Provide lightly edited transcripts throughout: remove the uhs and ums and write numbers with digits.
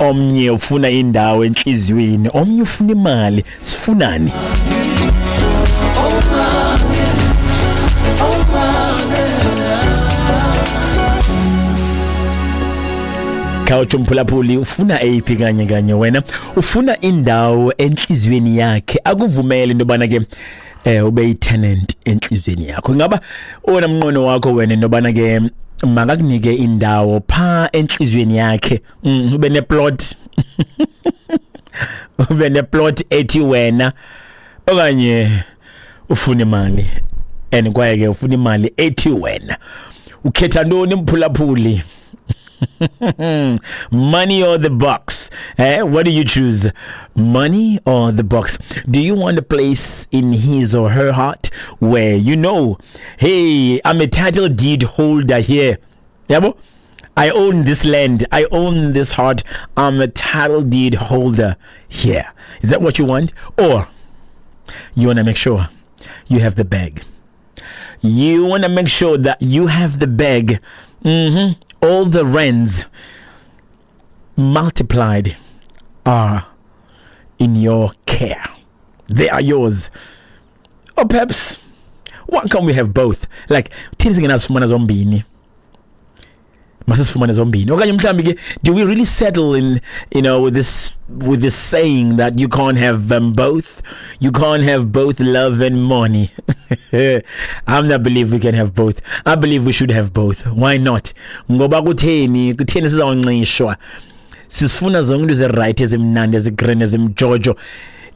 Omnye ufuna indawo entliziyweni, omnye ufuna imali. Sifunani? Khawutsho mphulaphuli, ufuna eyiphi kanye kanye wena? Ufuna indawo entliziyweni yakhe, akuvumele into yobana ke ube yi-tenant entliziyweni yakho. Ingaba owona mnqweno wakho wena into yobana ke makakunike indawo phaa entliziyweni yakhe, ube neplot ube neplot ethi wena, okanye ufuna imali and kwaye ke ufuna imali ethi wena? Ukhetha ntoni, mphulaphuli? Money or the box? Eh? What do you choose? Money or the box? Do you want a place in his or her heart where you know, hey, I'm a title deed holder here? Yabo? I own this land. I own this heart. I'm a title deed holder here. Is that what you want? Or you want to make sure you have the bag? You want to make sure that you have the bag. All the rents multiplied are in your care. They are yours. Or perhaps, why can't we have both? Like, thini singenazifumana zombini? Masisifumane zombini. Okanye mhlawumbi ke, do we really settle in, you know, with this saying that you can't have them both? You can't have both love and money. I'm not believe we can have both. I believe we should have both. Why not? Ngoba kutheni, kutheni sizawuncishwa? Sisifuna zonke into ezi-right, ezimnandi, ezi-green, ezimjojo.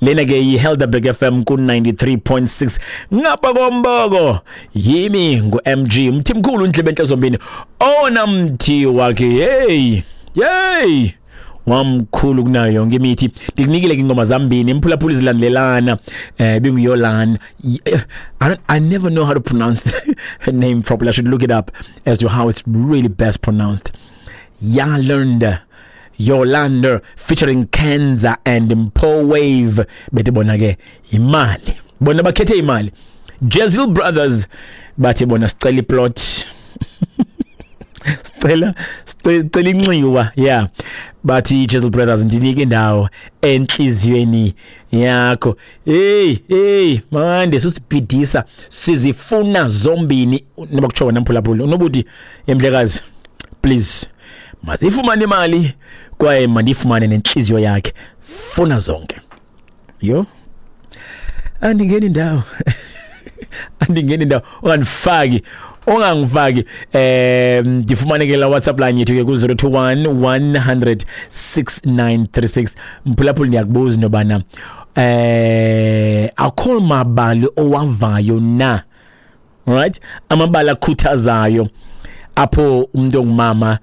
Lena ke yi-Helderberg FM ku-93.6 ngapha komboko. Yimi ngu-MG Mthimkhulu, ndlebe zombini, owona mthi wakhe hey hey wamkhulu kunayo yonke imithi. Ndikunikile ke ingoma zambini, imphulaphula, zilandelelana. Binguyolan, I never know how to pronounce her name properly. I should look it up as to how it's really best pronounced. Yalunda, Yolanda featuring Kenza and Mpo Wave. Bethi bona ke imali, bona bakhethe imali. Jezil Brothers bathi bona sicela iplot, sicela inxiwa. Yeah, bathi Jezil Brothers, ndinike indawo enhliziyweni yakho. Hey hey, mande susibhidisa, sizifuna zombini. Noba kutsho wena mphulaphula unobuthi emhlekazi, please masifumane imali kwaye mandifumane nenhliziyo yakhe. Funa zonke. Yo, andingeni indawo, andingeni indawo, ungandifaki, ungangifaki. Ndifumane ke la WhatsApp line yethu ke ku 021 100 6936. Mphulaphula, ndiyakubuza into yobana akho mabali owavayo na, right, amabali akhuthazayo apho umuntu ongumama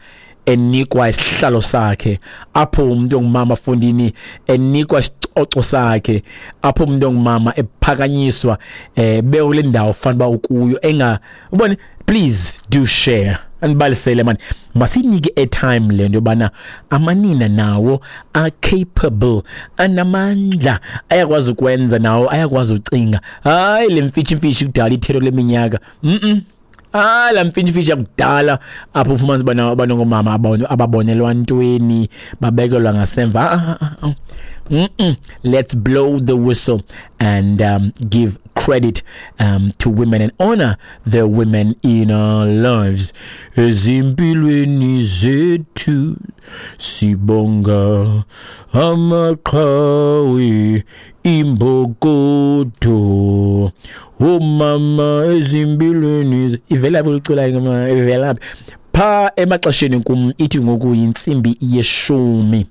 enikwa isihlalo sakhe, apho umuntu ongumama fondini enikwa isicoco sakhe, apho umuntu ongumama ephakanyiswa, bekule ndawo fanele uba ukuyo enga ubone. Please do share, andibalisele man. Masinike airtime le nto yobana amanina nawo are capable, anamandla, ayakwazi ukwenza nawo, ayakwazi ucinga. Hayi le mfitshi mfitshi kudala ithelo leminyaka. Ah, la mfintshi yakudala apho ufumanisa ubana abantu ngomama ababonelwa ntweni, babekelwa ngasemva. Ah, ah, ah. Let's blow the whistle and give credit to women and honor the women in our lives. Ezimpilweni zethu sibonga amaqhawe, imbokodo, omama ezimpilweni. Ivela phi licula ingoma? Ivela phi? Pha emaxesheni kum ithi ngoku yintsimbi yeshumi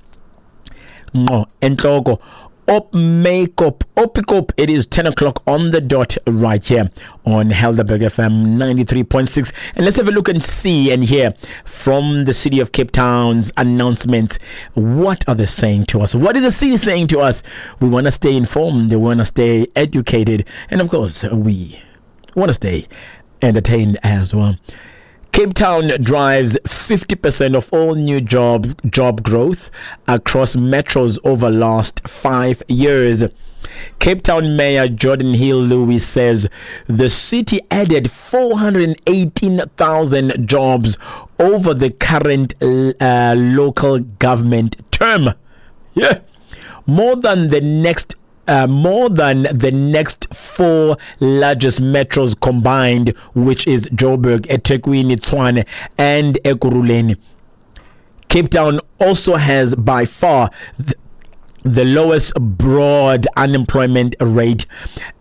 ngqo entloko op makeup opikop. It is 10 o'clock on the dot right here on Helderberg FM 93.6, and let's have a look and see and hear from the city of Cape Town's announcements. What are they saying to us? What is the city saying to us? We want to stay informed, we want to stay educated, and of course we want to stay entertained as well. Cape Town drives 50% of all new job growth across metros over last 5 years. Cape Town Mayor Geordin Hill-Lewis says the city added 418,000 jobs over the current local government term. Yeah. More than the next four largest metros combined, which is Joburg, eThekwini, Tshwane, and Ekurhuleni. Cape Town also has by far the lowest broad unemployment rate,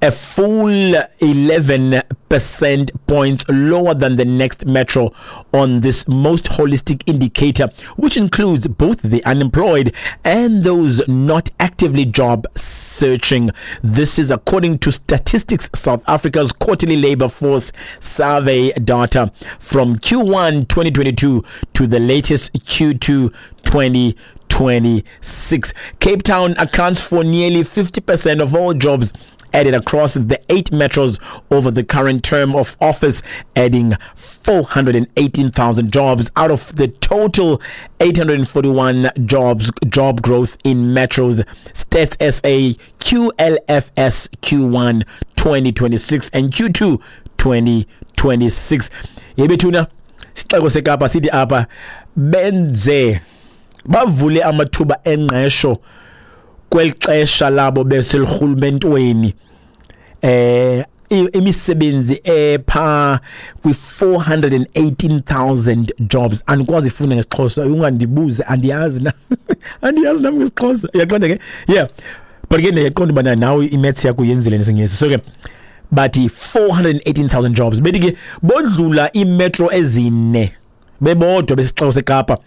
a full 11% points lower than the next metro on this most holistic indicator, which includes both the unemployed and those not actively job searching. This is according to Statistics South Africa's quarterly labor force survey data from Q1 2022 to the latest Q2 2026. Cape Town accounts for nearly 50% of all jobs added across the eight metros over the current term of office, adding 418,000 jobs out of the total 841 jobs job growth in metros. Stats SA QLFS Q1 2026 and Q2 2026. Yebethuna, isixeko seKapa sithi apha benze bavule amathuba engqesho kweli xesha labo beselurhulumentweni imisebenzi epha kwi-418,000 jobs. Andikwazi ifunda ngesiXhosa, ungandibuze, andiyazi na, andiyazi nami ngesiXhosa, uyaqonda ke? Yeah, but ke ndiyaqonda ubana nawe i-maths yakho uyenzile nesiNgesi. So ke bathi 418,000 jobs, bethi ke bodlula iimetro ezine bebodwa besixeko seKapa,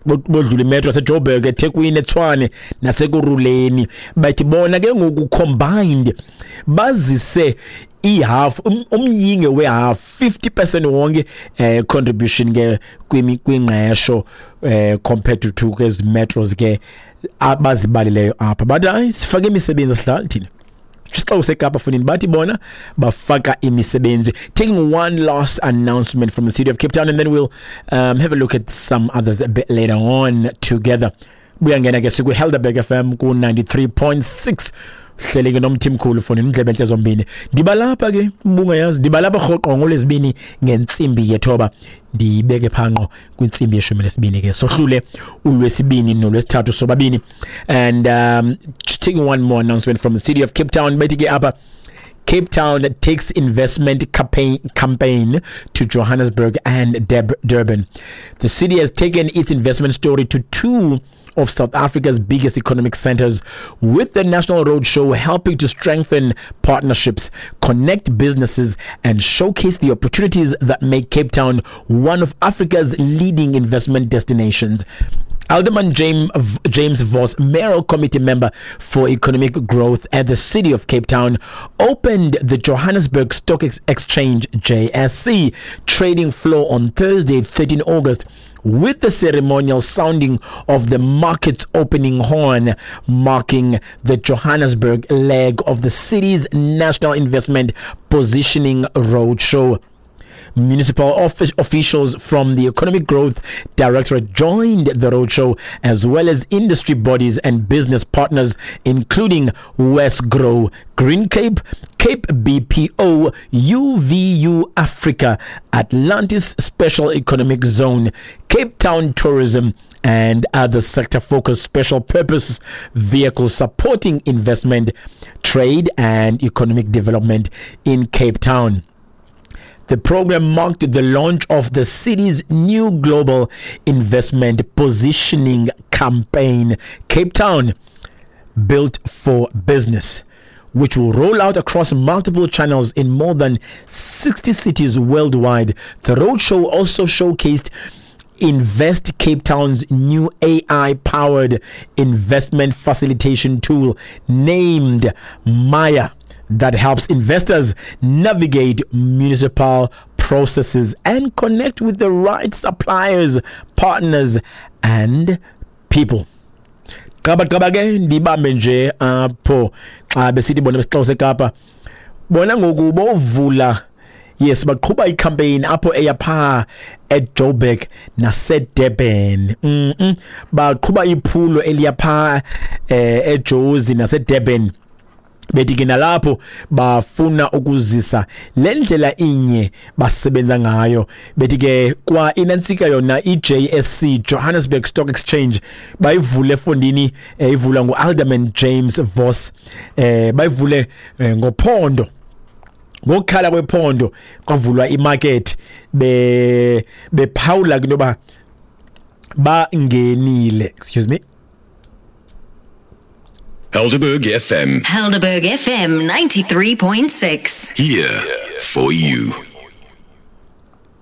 bodlula imetro yaseJoburg, eThekwini, eTshwane naseKurhuleni. Bathi bona ke ngoku combined bazise ihalf, umyinge wehalf, 50% wonke contribution ke kwingqesho compared to kwezi metros ke abazibalileyo apha. Bathi hayi, sifake imisebenzi, sidlala thina. Isixeko seKapa funini, bathi bona bafaka imisebenzi. Taking one last announcement from the city of Cape Town and then we'll have a look at some others a bit later on together. Buyangena ke sikwi-Helderberg FM ku-93.6, hleli ke noMthimkhulu fonini indlebe entle zombini. Ndibalapha ke, ubungayazi, ndibalapha rhoqo ngolwezibini ngentsimbi yethoba, ndiyibeke phanqo kwintsimbi yeshumi nesibini ke, sohlule ulwesibini nolwesithathu sobabini. And just taking one more announcement from the city of Cape Town, bethi ke apha Cape Town takes investment campaign to Johannesburg and Durban. The city has taken its investment story to two of South Africa's biggest economic centers, with the National Roadshow helping to strengthen partnerships, connect businesses, and showcase the opportunities that make Cape Town one of Africa's leading investment destinations. Alderman James Voss, Mayoral Committee Member for Economic Growth at the City of Cape Town, opened the Johannesburg Stock Exchange JSE trading floor on Thursday, 13 August, with the ceremonial sounding of the market's opening horn, marking the Johannesburg leg of the city's national investment positioning roadshow. Municipal office officials from the Economic Growth Directorate joined the roadshow, as well as industry bodies and business partners, including Wesgro, Green Cape, Cape BPO, UVU Africa, Atlantis Special Economic Zone, Cape Town Tourism, and other sector focused special purpose vehicles supporting investment, trade, and economic development in Cape Town. The program marked the launch of the city's new global investment positioning campaign, Cape Town Built for Business, which will roll out across multiple channels in more than 60 cities worldwide. The roadshow also showcased Invest Cape Town's new AI powered investment facilitation tool named Maya that helps investors navigate municipal processes and connect with the right suppliers, partners, and people. Qaba qaba ke, ndibambe nje apho xa besithi bona besixeko seKapa bona ngoku bovula. Yes, baqhuba icampaign apho eya pha eJoburg naseDurban. Baqhuba iphulo eliya pha eJozi naseDurban, bethi ke nalapho bafuna ukuzisa le ndlela inye basebenza ngayo. Bethi ke kwa inantsika yona iJSC, Johannesburg Stock Exchange, bayivule efondini, ivulwa nguAlderman James Voss, bayivule ngophondo, ngokukhala kwephondo kwavulwa imarket, be bephawula into yoba bangenile. Excuse me. Helderberg FM. Helderberg FM 93.6. Here for you.